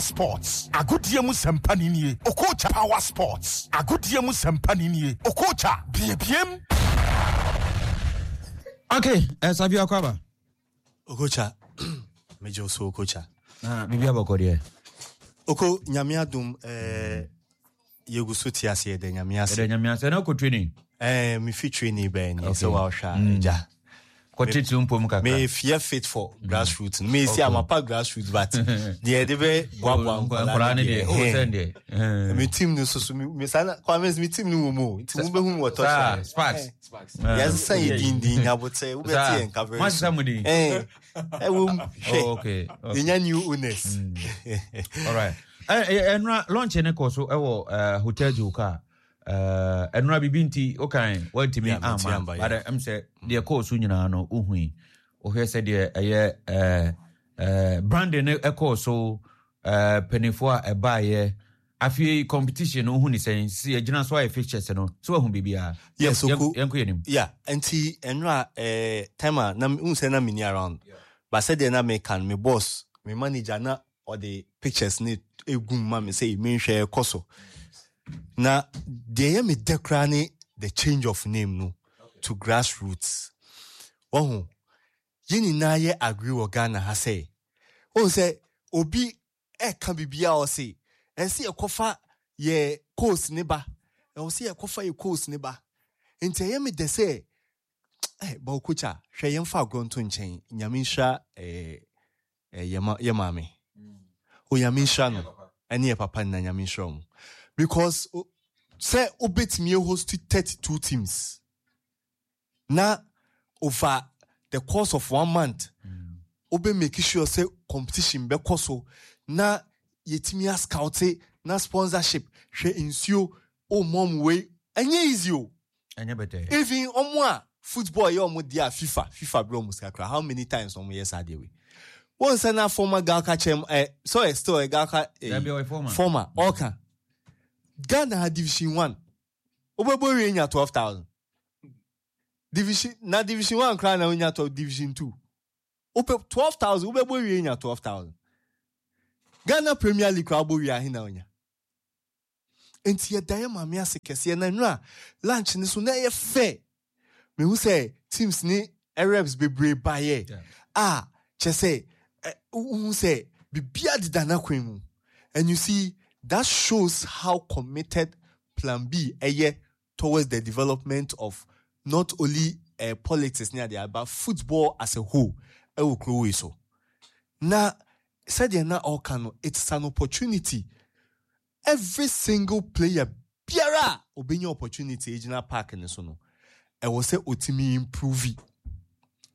Sports, agodie mu sɛmpa ni nie, Okocha Power Sports, agodie mu sɛmpa ni nie, Okocha, biebiem. Okay, eh, Savio Akwaba. Okocha, megye wo so Okocha. Na biribi abɔkɔ deɛ. Oko, nyame adom, eh, yɛgu so te ase yɛda nyame ase. Yɛda nyame ase, na wokɔ training? Eh, mefi training bɛn ni, sɛ woahwɛ a, mm. agya. Kɔtete mpom kakra. Mefia fit for mm. grassroots. Me si okay. amapa grassroots but deɛ yɛde bɛ boaboa nkwadaa no deɛ. Oh, sɛn deɛ. Me team no so so me saa na Kwame me team no wɔ mu o. Nti mo bɛ hu wɔ touchline. Sparks. Yɛsesa yɛ din din nyabotɛ wobɛte yɛn nka very soon. Mo din. Ɛɛ ɛwɔ mu hwɛ. Oh, okay. Yɛnya new owners. Mm. All right. Ɛnura launch ne kɔ so ɛwɔ Hotel Joka. Ɛnura bibi nti wokan wantumi ama but ɛm sɛ deɛ kɔɔ so nyinaa no wohui. Wohwɛ sɛ deɛ ɛyɛ branding no ɛkɔɔ so mpanimfoɔ a ɛbaeɛ Afei competition no wohu ne sɛn? Sisi yɛgyina so ayɛ fixtures no, so wahu biribiara? Yes, Yɛn- oko. Yɛnkɔ yɛn anim. Yeah, nti ɛnora eh, time a na wohu sɛ na menni around. But sɛdeɛ na meka no, me boss, me manager na ɔde pictures no egu mu ma me sɛ menhwɛ ɛkɔ so. Na deɛ ɛyɛ me dɛ koraa ne the change of name no to grassroots. Wahu, yɛn nyinaa yɛ agree wɔ Ghana ha sɛ, wohu sɛ obi ɛka biribiara ɔse ɛsɛ yɛkɔfa yɛ course ne ba ɛwɔ sɛ yɛkɔfa yɛ course ne ba nti ɛyɛ me dɛ sɛ eh, bawokokya hwɛ yɛmfa agorɔ nto nkyɛn nyame nhyira eh, eh, yɛ maame o nyame nhyira no ɛne yɛ papa nna nyame nhyira mu because sɛ wobɛtumi host 32 teams na over the course of one month wobɛ make sure sɛ competition bɛkɔ so na yɛtumi ascoute na sponsorship hwɛ nsuo o mom wei ɛnyɛ easy o ɛnyɛ bɛtɛ even ɔmo a football yɛ ɔmo deɛ a fifa fifa brɛ ɔmo sika koraa how many times ɔmo yɛ saa deɛ wei wɔn sɛ na former galka kyɛm ɛ so ɛ still ɛ galka ɛ former former ɔka Ghana ha division one wobɛbɔ wie nya 12000 division na division one koraa na wonya 12 division two wopɛ 12000 wobɛbɔ wie nya 12000 Ghana Premier League koraa wobɔ wie ahe na wonya nti yɛda yɛ maame ase kɛseɛ na nnura lunch ne so na ɛyɛ fɛ mehu sɛ teams ne reps bebree baeɛ a kyɛ sɛ wohu sɛ biribiara deda n'akwan mu and you see that shows how committed plan B ɛyɛ towards the development of not only uh, politics ne adeɛ but football as a whole ɛwɔ kuro wei so na sɛdeɛ na ɔka no it's an opportunity Every single player biara a obenya opportunity egyina park no so no, ɛwɔ sɛ otumi improve.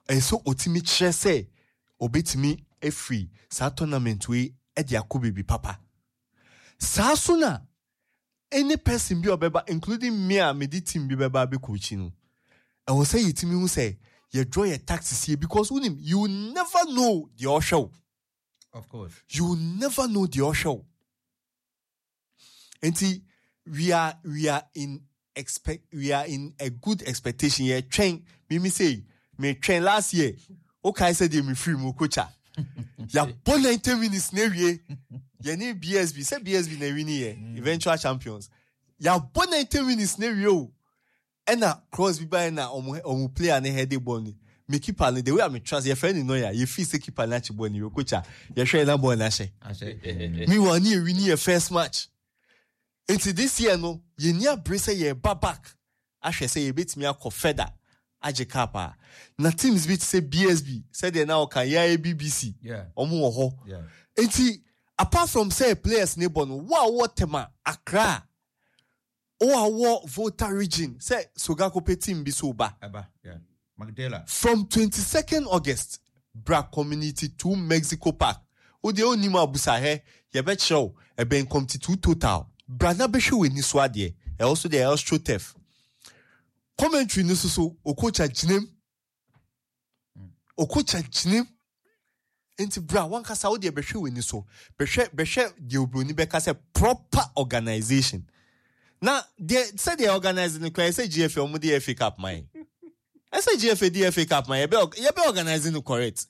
Ɛyɛ sɛ otumi kyerɛ sɛ obetumi afiri saa tournament wei de akɔ baabi papa. Saa so na any person bi a ɔbɛba including me a mede team bi bɛba abɛcoachi no, ɛwɔ sɛ yɛtumi hu sɛ yɛdraw yɛ tactics yie because wonim you never know deɛ ɔhwɛ wo. Of course. You never know deɛ ɔhwɛ wo. Nti we are we are in expect we are in a good expectation. Yɛ twɛn mimi sɛ me twɛn last year. Okae sɛ deɛ me firi mu kocha. Yɛabɔ 90 minutes na ewie. Yɛne BSB sɛ BSB na ewi ni yɛ mm. eventual champions. Yɛabɔ 90 minutes na ewie o. Ɛna cross bi baeɛ na ɔmo ɔmo player no heade bɔɔl no, me keeper no the way a me trust yɛfrɛ no Neuer, yɛ feel sɛ keeper no akye bɔɔl no yɛ coach a yɛhwɛɛ na bɔɔl no ahyɛ. Meanwhile ne yɛ wini yɛ first match. Nti this year no yɛnni abere sɛ yɛreba back ahwɛ sɛ yɛbɛtumi akɔ further agye cup a. Na teams bi te sɛ BSB sɛdeɛ na ɔka yɛa yɛ BBC ɔmo wɔ hɔ. Nti apart from sɛ players no bɔ no, wo a wowɔ Tema, Accra, Wo a wowɔ Volta region sɛ Sogakope team bi so ba. Ɛba, yeah. Magdala. From 22nd August bra Community 2 Mexico Park. Wo deɛ wonnim a busa hɛ, yɛbɛkyerɛ wo. Ɛbɛn Community 2 Total. Bra na bɛhwɛ w'ani so adeɛ. Ɛhɔ so deɛ AstroTurf. Commentary no so so, Okocha gyinam. Okocha gyinam. Nti bra wankasa wo deɛ bɛhwɛ w'ani so. Bɛhwɛ bɛhwɛ deɛ obroni bɛka sɛ proper organization. Na deɛ sɛdeɛ organize no koraa ɛsɛ GFA wɔn de FA Cup ma yɛn. Ɛsɛ GFA de FA Cup ma yɛbɛ yɛbɛ organize no correct.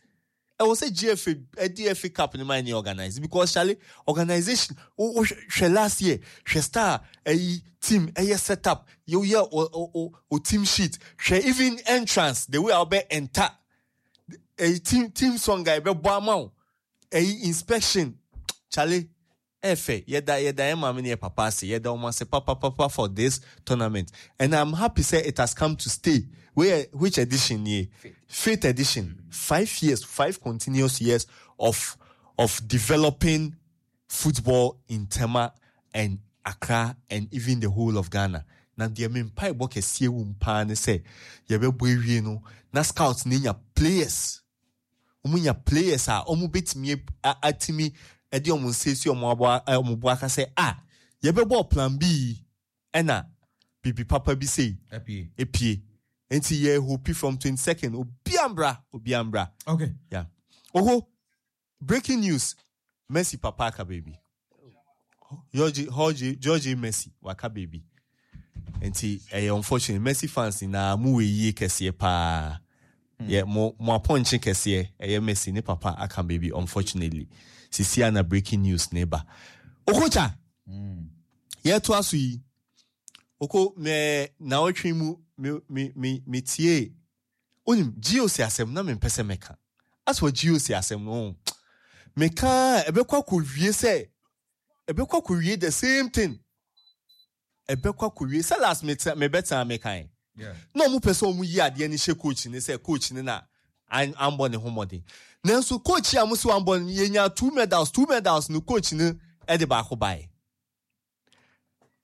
Ɛwɔ sɛ GFA ɛde FA Cup no ma ɛne organize because chale organization wo wo hwɛ last year hwɛ star ɛyi team ɛyɛ set up yɛ yɛ o o o team sheet hwɛ even entrance the way a wɔbɛ enter ɛyi team team song a ɛbɛbɔ ama wo ɛyi inspection chale Ɛyɛ fɛ, yɛda yɛda yɛn maame ne yɛn papa ase, yɛda wɔn ase papapapa for this tournament and I'm happy sɛ it has come to stay. Wei yɛ which edition nie? Fifth edition, 5 years, 5 continuous years of developing football in Tema and Accra and even the whole of Ghana. Na deɛ me mpaebɔ kɛseɛ wɔ mu paa ne sɛ yɛbɛbɔ awie no na scouts no nya players wɔn nya players a wɔn bɛtumi atumi de wɔn nsa esi wɔn aboa wɔn bo aka sɛ a yɛbɛbɔ plan B yi ɛna bibi papa bi sei epie nti yɛ hope from 22nd obi ambra obi ambra. Yeah, oho, breaking news, Messi papa aka baby Jorge Jorge Jorge Messi waka baby nti ɛyɛ unfortunate. Messi fans nyinaa mo wɔ yie kɛseɛ paa yɛ mo mo apɔnkye kɛseɛ ɛyɛ Messi ne papa aka baby, unfortunately. Sisi ana breaking news ne ba. Okocha yɛto aso yi oko mɛ na ɔtwe mu me me me me tie onim GOC asɛm na mempɛ sɛ mɛka asɔ GOC asɛm no meka ɛbɛkɔ akɔwie sɛ ɛbɛkɔ akɔwie the same thing ɛbɛkɔ akɔwie sɛ last mebɛtena mekan na ɔmo pɛ sɛ ɔmo yi adeɛ no hyɛ coach ne sɛ coach ne na ambɔ ne ho mmɔden nanso coach a mo sɛ wambɔ no yɛnya two medals, two medals no coach no ɛde baako baeɛ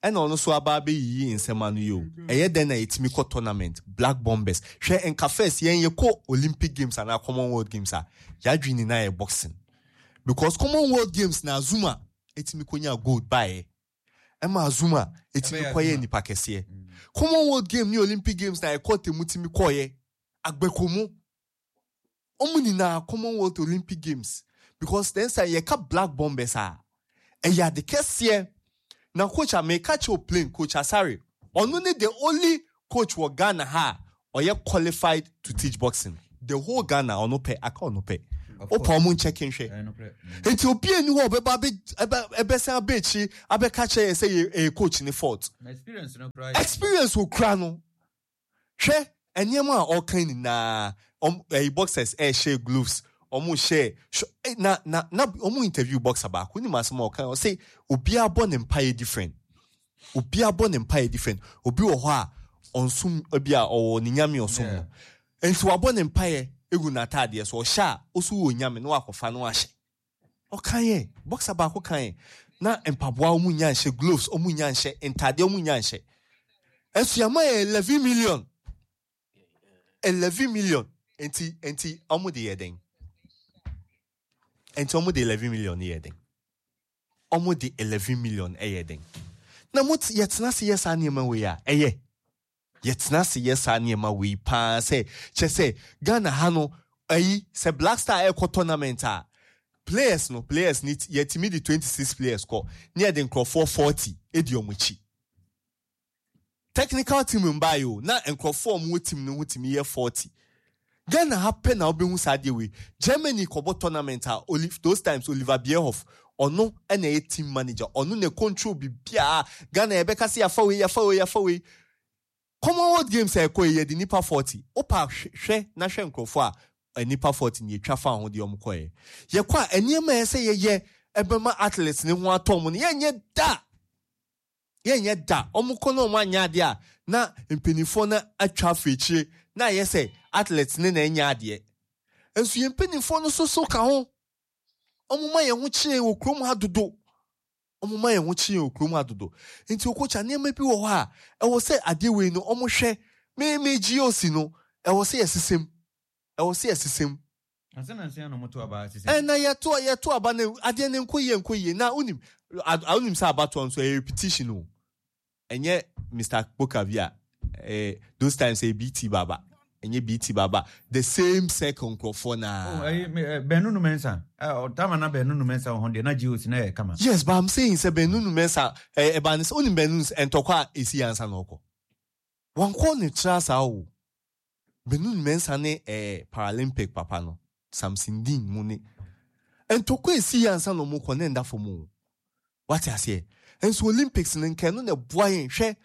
ɛna ɔno nso aba abɛyiyi nsɛm ano yi o. Ɛyɛ dɛn na yɛtumi kɔ tournament Black Bombers? Hwɛ, nka first yɛn yɛkɔ Olympic Games anaa Commonwealth Games a yɛadwene nyinaa yɛ boxing because Commonwealth Games na Azuma ɛtumi kɔnya gold baeɛ ɛma Azuma ɛtumi kɔyɛ nipa kɛseɛ. Commonwealth Game ne Olympic Games na yɛkɔ temu tumi kɔɔyɛ agbɛkomu ɔmo nyinaa Commonwealth, Olympic Games because then sɛ yɛka Black Bombers a ɛyɛ ade kɛseɛ. Na coach a meka kyerɛ plain, Coach Asare, ɔno ne the only coach wɔ Ghana ha a ɔyɛ qualified to teach boxing, the whole Ghana. Ɔno pɛ aka ɔno pɛ wopɛ ɔmo nkyɛke nhwɛ. Nti obi ani hɔ ɔbɛba ɛbɛsan abɛ akyiri abɛka kyerɛ yɛ sɛ yɛ ɛyɛ coach ne fault. Experience okura no, hwɛ nneɛma a ɔka nyinaa ɔm ɛyi boxers ɛhyɛ gloves ɔmo hyɛ na ɔmo interview boxer baako nim asɛm a ɔka ɔsɛ obiara bɔ ne mpaeɛ different, obiara bɔ ne mpaeɛ different. Obi wɔ hɔ a ɔnsom ebi a ɔwɔ ne nyame ɔsom no nti wabɔ ne mpaeɛ egu n'ataadeɛ so ɔhyɛ a ɔso wɔ nyame na wakɔfa no ahyɛ. Ɔka yɛ boxer baako kan yɛ na mpaboa ɔmo nya nhyɛ gloves, ɔmo nya nhyɛ ntaadeɛ, ɔmo nya nhyɛ ɛso yɛama yɛ 11 million, 11 million. Nti ɔmo de yɛ den? Nti ɔmo de 11 million yɛ den? Ɔmo de 11 million ɛyɛ den? Na mo yɛtena ase yɛ saa nneɛma wei a ɛyɛ yɛtena ase yɛ saa nneɛma wei paa sɛ kyɛ sɛ Ghana ha no ayi sɛ Black Star ɛkɔ tournament a players no players ni yɛtumi de 26 players kɔ ne yɛde nkurɔfoɔ 40 edi ɔmo akyi. Technical team mbaayɛ o na nkurɔfoɔ a ɔmo wɔ team no ho tumi yɛ 40. Ghana ha pɛ na wobɛhu saa adeɛ wei. Germany kɔbɔ tournament a Olive, those times Oliver Bierhoff ɔno ɛna ɛyɛ team manager, ɔno na control biribiara. Ghana yɛbɛka sɛ yɛafa wei, yɛafa wei, yɛafa wei. Commonwealth Games a ɛkɔ yi yɛde nipa 40 wopa hwɛ na hwɛ nkurɔfoɔ a nipa 40 ne yɛtwa fa ho deɛ ɔmo kɔɛ. Yɛkɔ a nneɛma a ɛsɛ yɛyɛ ɛbɛma athletes ne ho atɔ ɔmo no yɛnyɛ da, yɛnyɛ da. Ɔmo kɔ na ɔmo anyɛ adeɛ a na mpanimfoɔ no atwa afɔ akyire na ayɛ sɛ athletes ne na ɛnyɛ adeɛ nso yɛn mpanimfoɔ no nso so ka ho. Ɔmo ma yɛn ho kyerɛ wɔ kurom ha dodo, ɔmo ma yɛn ho kyerɛ wɔ kurom ha dodo. Nti okokya nneɛma bi wɔ hɔ a ɛwɔ sɛ adeɛ wei no ɔmo hwɛ me GOC no ɛwɔ sɛ yɛsesɛm, ɛwɔ sɛ yɛsesɛm. Ɛna yɛto aba no adeɛ no nkɔ yie, nkɔ yie. Na wonim wonim sɛ abatoɔ nso ɛyɛ repetition o. Ɛnyɛ Mr Boka bi a those times ɛyɛ BT Baba, ɛnyɛ BT Baba, the same circle nkurɔfoɔ naa. Oh, ɛyi bɛnunu mɛnsa ɔtama na bɛnunu mɛnsa wɔ hɔ deɛ na GOC na yɛ kama. Yes, but I'm saying sɛ bɛnunu mɛnsa ɛba ne sɛ onim bɛnunu ntɔkwa a esi ansa na ɔkɔ wankɔ ne tra saa o. Bɛnunu mɛnsa ne Paralympic papa no. Samson Dean mu ne ntɔkwa esi yɛ ansa na ɔmo kɔ ne nda fam o. Wate aseɛ? Nso Olympics no nka ɛno na ɛboa yɛn. Hwɛ,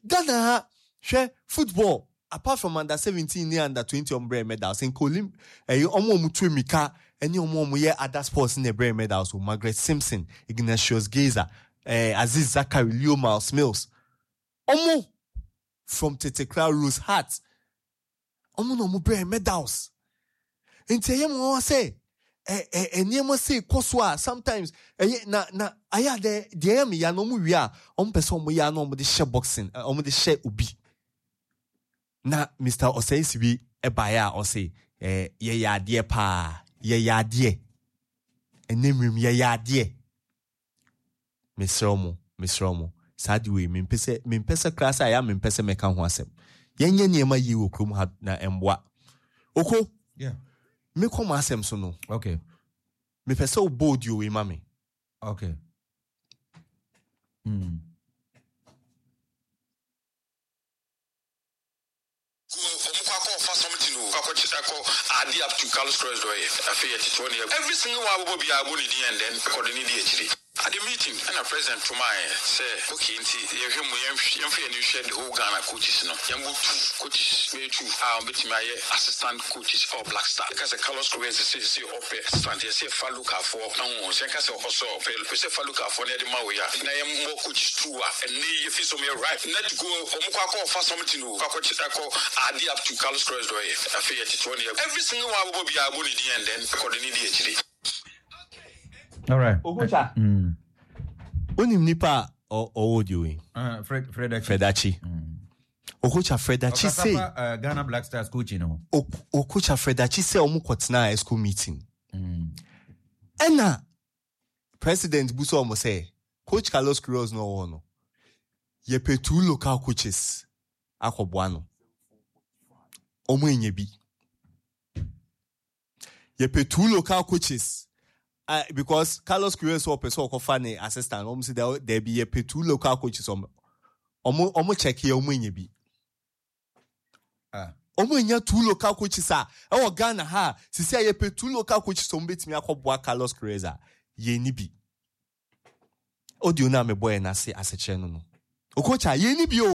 Ghana ha, hwɛ football, apart from under 17 ne under 20 ɔmo brɛ medals, nka Olymp ɛyɛ ɔmo a ɔmo tu mmirika ɛne ɔmo a ɔmo yɛ other sports na ɛbrɛ medals o. Margaret Simpson, Ignatius Geyser, Aziz Zakari, Leo Miles Mills. Ɔmo from tete koraa Rose Hart. Ɔmo na ɔmo brɛ medals. Nti ɛyɛ mo nwanwa sɛ ɛ ɛ nneɛma sei kɔ so a sometimes ɛyɛ na na ayɛ adɛ deɛ ɛyɛ me ya na ɔmo wie a ɔmo pɛ sɛ ɔmo yɛ a na ɔmo de hyɛ boxing ɔmo de hyɛ obi. Na Mr. Osei Sibi ɛbaeɛ a ɔse ɛ yɛyɛ adeɛ paa yɛyɛ adeɛ ɛnɛ mmirim yɛyɛ adeɛ. Mesrɛ mo, mesrɛ mo, saa ade wei, mempɛ sɛ, mempɛ sɛ koraa sɛ ayɛ a mempɛ sɛ mɛka ho asɛm. Yɛnyɛ nneɛma yie wɔ kurom ha na ɛmboa. Oko, Yeah. mekɔ m'asɛm so no, Okay. mepɛ sɛ wobɔ audio wei ma me. Okay. Ku ɔmo kɔ akɔ fa something o kɔ akɔ kye akɔ add up to Carlos Queiroz dɔ yɛ afei yɛ tete hɔ ne yɛ every single one abobɔ biara bɔ ne din and then kɔ de ne di akyire at the meeting ɛna president to maa yɛ sɛ okay nti yɛ hwɛ mu yɛn yɛn fa yɛn ani hwɛ the whole Ghana coaches no yɛn bɔ two coaches bɛyɛ two a wɔn bɛtumi ayɛ assistant coaches ɛwɔ Black Star yɛ ka sɛ Carlos Queiroz sɛ sɛ ɔpɛ assistant yɛ sɛ yɛ fa local foɔ na ho sɛ yɛ ka sɛ ɔsɔ ɔpɛ pɛ sɛ fa local foɔ na yɛ de ma wɔ yɛ a na yɛn bɔ coaches two a ɛnɛ yi yɛ fi sɛ ɔmo yɛ right net go ɔmo kɔ akɔ fa something o kɔ akɔ akɔ add up to Carlos Queiroz dɔ yɛ afei yɛ tete hɔ ne yɛ every single one abobɔ biara bɔ ne din and then kɔ de ne di akyire. All right. Okocha. Wonim nipa a ɔwɔ audio yi? Fred Fred Achi. Fred Achi. Okocha Fred Achi say. Ghana Black Stars coach no. Okocha Fred Achi say ɔmo kɔtena EXCO meeting. Ɛna president busa ɔmo sɛ coach Carlos Queiroz no ɔwɔ no yɛpɛ two local coaches akɔboa no. Ɔmo enya bi. Yɛpɛ two local coaches because Carlos Queiroz ɔpɛ sɛ ɔkɔfa ne assistant ɔmo sɛ dɛbi yɛpɛ two local coaches ɔmo ɔmo ɔmo check yɛ ɔmo enya bi. Ɔmo enya two local coaches a ɛwɔ Ghana ha sisi a yɛpɛ two local coaches ɔmo betumi akɔboa Carlos Queiroz a yɛn ni bi. Audio na mebɔ yɛn ase asekyerɛ no no. Okocha yɛn ni bi o.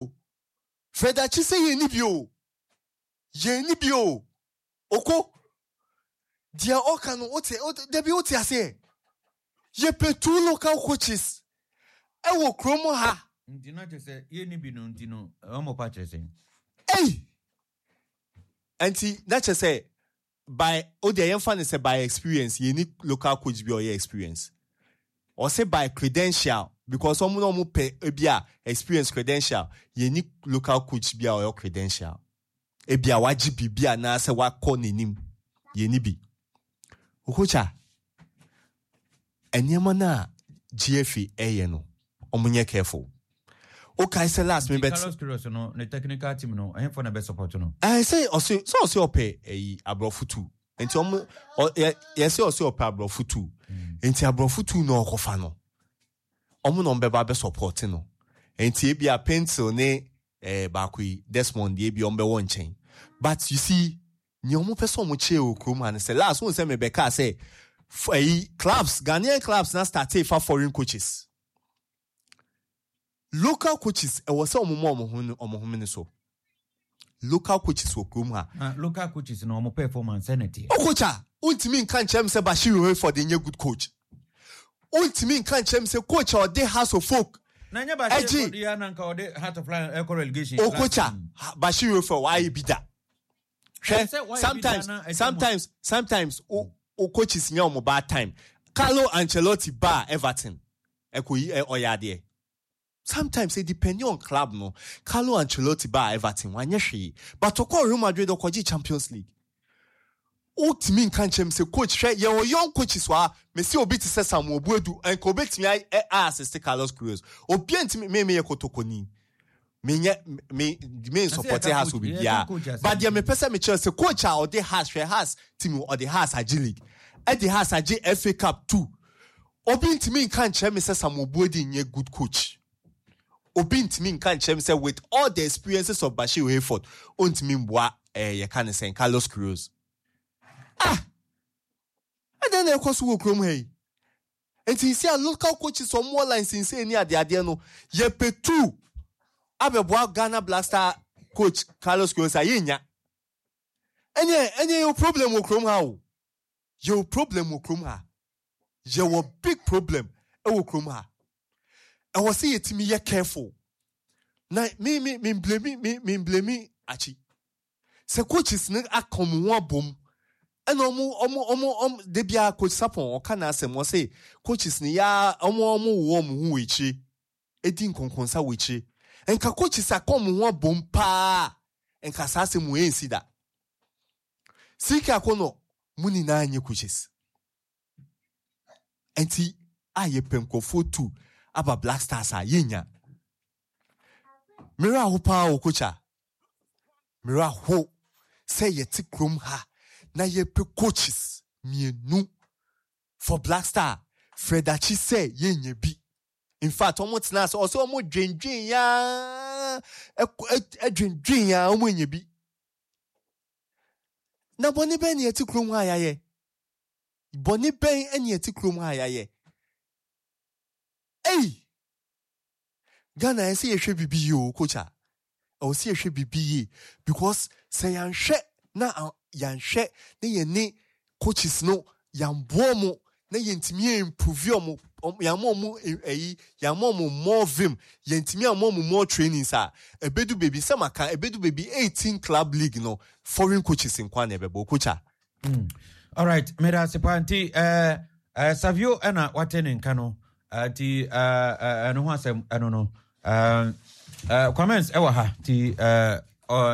Fred Achi sɛ yɛn ni bi o. Yɛn ni bi o. Oko deɛ ɔka no wote dabi wote aseɛ. Yɛpɛ two local coaches ɛwɔ kurom ha. Nti na kyerɛ sɛ yɛn ni bi no nti no ɔmo pa kyerɛ sɛ. Ei! Nti na kyerɛ sɛ by o deɛ yɛmfa ne sɛ by experience yɛn ni local coach bi a ɔyɛ experience. Ɔsɛ by credential because ɔmo na ɔmo pɛ ebi a experience credential yɛn ni local coach bi a ɔyɛ credential. Ebi a wagye biribi anaasɛ wakɔ n'anim yɛn ni bi. Okocha nneɛma no a GFA ɛyɛ no ɔmo nyɛ careful. Okay, sɛ last me bet. Carlos Queiroz no ne technical team no ɛhɛnfo na bɛ support no. Sɛ ɔse sɛ ɔse ɔpɛ ɛyi aborɔfo tu nti ɔmo yɛ sɛ ɔse ɔpɛ aborɔfo tu nti aborɔfo tu na ɔkɔfa no ɔmo na ɔmo bɛba bɛ support no nti ebi a pencil ne baako yi Desmond deɛ ebi ɔmo bɛwɔ nkyɛn but you see nea ɔmo pɛ sɛ ɔmo kyerɛ wɔ kurom ha no sɛ last wɔn sɛ mebɛka sɛ ɛyi clubs Ghanaian clubs na start fa foreign coaches. Local coaches ɛwɔ sɛ ɔmo ma ɔmo ho ɔmo ho mene so. Local coaches wɔ kurom ha. Local coaches na ɔmo performance ɛna teɛ. Okocha, wontumi nka nkyerɛ m sɛ Bashir Hayford nyɛ good coach. Wontumi nka nkyerɛ m sɛ coach a ɔde Hearts of Oak. Na nyɛ Bashir Hayford yɛ na nka ɔde Heart of Lions ɛkɔ relegation. Okocha, Bashir Hayford wayɛ bi da. Hwɛ, sometimes o coaches nya ɔmo bad time. Carlo Ancelotti ba Everton. Ɛkɔ yi ɔyɛ adeɛ. Sometimes it depending on club no. Carlo Ancelotti ba Everton wanyɛ hwee. But ɔkɔ Real Madrid ɔkɔgye Champions League. Wotumi nka nkyɛn sɛ coach hwɛ yɛwɔ young coaches wa mesi obi te sɛ Samuel Boadu nka obetumi a assist Carlos Queiroz. Obi ntumi me me yɛ kotokoni. Me nyɛ me me support Hearts obi bia. But deɛ mepɛ sɛ mekyerɛ sɛ coach a ɔde Hearts hwɛ Hearts team ɔde Hearts agye league. Ɛde Hearts agye FA Cup 2. Obi ntumi nka nkyerɛ me sɛ Samuel Boadu nyɛ good coach. Obi ntumi nka nkyerɛ me sɛ with all the experiences of Bashir Hayford, ontumi mboa yɛka ne sɛn Carlos Queiroz. Ah! Ɛdɛn na ɛkɔ so wɔ kurom ha yi? Nti si a local coaches ɔmo wɔ license ni adeadeɛ no, yɛpɛ tu abɛboa Ghana Black Star coach Carlos Queiroz a, yɛnnya. Ɛneɛ yɛwɔ problem wɔ kurom ha o. Yɛwɔ problem wɔ kurom ha. Yɛwɔ big problem wɔ kurom ha. Ɛwɔ sɛ yɛtumi yɛ careful. Na me blame me blame akyi. Sɛ coaches no aka ɔmo ho abom ɛna ɔmo de bia Coach Sapon ɔka n'asɛm, ɔse coaches no ya ɔmo wɔ ɔmo ho wɔ akyire, edi nkɔnkɔnsa wɔ akyire. Nka coaches aka ɔmo ho abom paa, nka saa asɛm wɔ ɛnsi da. Sika akɔnɔ mu nyinaa nyɛ coaches. Nti a yɛpɛ nkurɔfoɔ tu aba Black Stars a, yɛnya. Mmerɛ aho paa wɔ coach a, mmerɛ aho sɛ yɛte kurom ha na yɛpɛ coaches mmienu for Black Star. Fred Akyi sɛ yɛnya bi. In fact, ɔmo tena ase, ɔsɛ ɔmo dwendwen yaa, ɛdwendwen yaa, ɔmo nya bi. Na bɔne bɛn na yɛte kurom ha yɛayɛ? Bɔne bɛn na yɛte kurom ha yɛayɛ? Ei! Ghana, ɛsɛ yɛhwɛ bibi yie o, coach a. Ɛwɔ sɛ yɛhwɛ bibi yie because sɛ yɛanhwɛ na yɛanhwɛ na yɛne coaches no yɛamboa ɔmo na yɛntumi improve ɔmo, yɛama ɔmo ɛyi, yɛama ɔmo more vim, yɛntumi ama ɔmo more trainings a, ɛbɛdu baabi sɛ maka, ɛbɛdu baabi 18 club league no, foreign coaches nkoa na ɛbɛbɔ, coach a. Alright, meda ase paa. Nti Savio ɛna wate ne nka no, nti ɛno ho asɛm ɛno no. Kwamens ɛwɔ ha nti